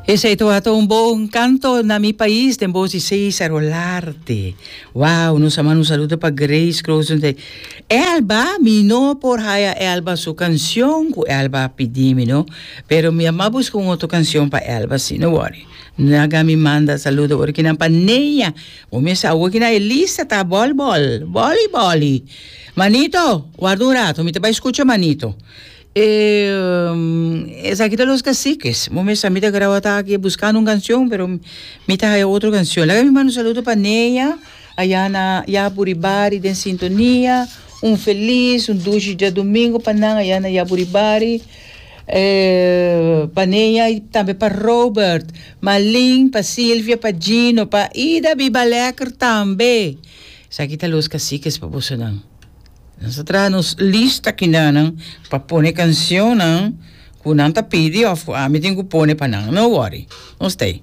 Esei tabata un bon canto na mi pais den bos di Cesar Olarte. Wow, nos a manda un saludo pa Grace Croes. Elba, mi no por haya Elba su cancion cu Elba a pidi mi, no. Pero mi a busca un otro cancion pa Elba, si, no worry. Naga mi manda saludo ora kinan pa Neya. Bo mester awo kinan e lista ta bol bol, boli boli. Manito, warda un rato, mi ta bai scucha Manito. Esaki ta Los Caciques. Bo mester mi ta graba ta aki buscando un cancion, pero mi ta haya otro cancion. Laga mi manda un saludo pa Neya, aya na Yaburibari den sintonia. Un feliz, un dushi djadomingo pa nan aya na Yaburibari. Pa Neya y tambe pa Robert, Malin, pa Silvia, pa Gino, pa Ida Biba Lekker tambe. Esaki ta Los Caciques pa bosonan. Nos a traha nos lista kinanan pa pone cancionnan cu nan ta pidi of cu ami tin cu pone pa nan. No worry, nos ta ey.